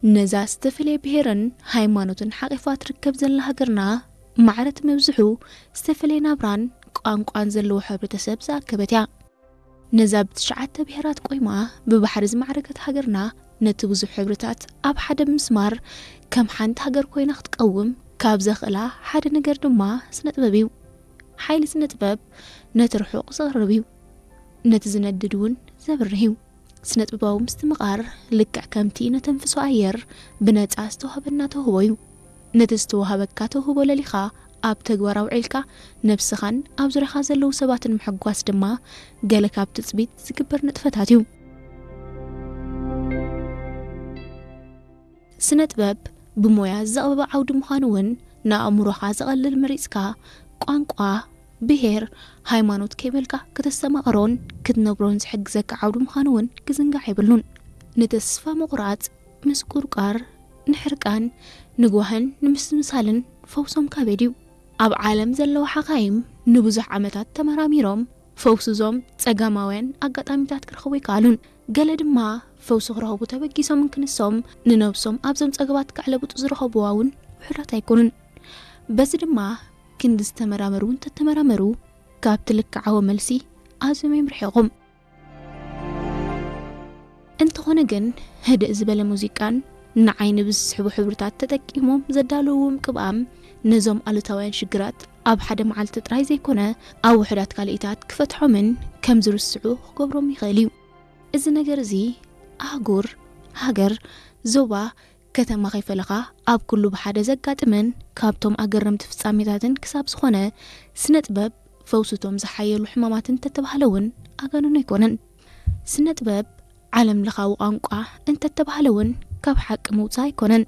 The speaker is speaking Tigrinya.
ነዛ ዝተፈላለየ ብሄርን ሃይማኖትን ሓቒፋ ትርከብ ዘላ ሃገርና፣ ማዕረት መብዝሑ ዝተፈላለየ ናብራን ቋንቋን ዘለዎ ሕብረተሰብ ዝኣከበት እያ። ነዛ ብትሽዓተ ብሄራት ቆይማ ብባሕሪ ዝማዕረገት ሃገርና፣ ነቲ ብዙሕ ሕብርታት ኣብ ሓደ ብምስማር ከም ሓንቲ ሃገር ኮይና ክትቀውም ካብ ዘኽእላ ሓደ ነገር ድማ ስነ ጥበብ እዩ። ሓይሊ ስነ ጥበብ ነቲ ርሑቕ ዘቕርብ እዩ፣ ነቲ ዝነድድ እውን ዘብርህ እዩ። ስነ ጥበባዊ ምስትምቓር ልክዕ ከምቲ ነተንፍሶ ኣየር ብነጻ ዝተዋህበና ተውህቦ እዩ። ነቲ ዝተዋህበካ ተውህቦ ለሊኻ ኣብ ተግባር ኣውዒልካ ነብስኻን ኣብ ዙርያኻ ዘለዉ ሰባትን ምሕጓስ ድማ ገለ ካብ ትጽቢት ዝግበር ንጥፈታት እዩ። ስነ ጥበብ ብሞያ ዘቕበበ ዓውዲ ምዃኑ እውን ንኣእምሮኻ ዘቐልል መሪጽካ ቋንቋ፣ ብሄር፣ ሃይማኖት ከይበልካ ከተስተማቕሮን ክትነብሮን ዝሕግዘካ ዓውዲ ምዃኑ እውን ክዝንጋዕ የብሉን። ንተስፋ ምቑራጽ፣ ምስቁርቋር፣ ንሕርቃን፣ ንጓህን ንምስምሳልን ፈውሶም ካበድ እዩ። ኣብ ዓለም ዘለዉ ሓኻይም ንብዙሕ ዓመታት ተመራሚሮም ፈውስዞም ጸጋማውያን ኣጋጣሚታት ክረኽቡ ይከኣሉን። ገለ ድማ ፈውሲ ክረኽቡ ተበጊሶምን ክንሶም ንነብሶም ኣብዞም ጸገባት ክዕለብጡ ዝረኸብዋ እውን ውሑዳት ኣይኮኑን። በዚ ድማ ክንዲ ዝተመራመሩ እውን ተተመራመሩ ካብቲ ልክዓዊ መልሲ ኣዝዮም እዮም ርሒቖም። እንተኾነ ግን ህድእ ዝበለ ሙዚቃን ንዓይኒ ብዝስሕቡ ሕብርታት ተጠቂሞም ዘዳለውዎም ቅብኣም ነዞም ኣሉታውያን ሽግራት ኣብ ሓደ መዓልቲ ጥራይ ዘይኮነ ኣብ ውሑዳት ካልኢታት ክፈትሖምን ከም ዝርስዑ ክገብሮም ይኽእል እዩ። እዚ ነገር እዚ ኣህጉር፣ ሃገር፣ ዞባ፣ ከተማ ከይፈለኻ ኣብ ኩሉ ብሓደ ዘጋጥምን ካብቶም ኣገረምቲ ፍጻሜታትን ክሳብ ዝኾነ ስነ ጥበብ ፈውስቶም ዝሓየሉ ሕማማት እንተተባህለ እውን ኣጋንኖ ኣይኮነን። ስነ ጥበብ ዓለም ለኻዊ ቋንቋ እንተተባህለ እውን ካብ ሓቂ ምውፃእ ኣይኮነን።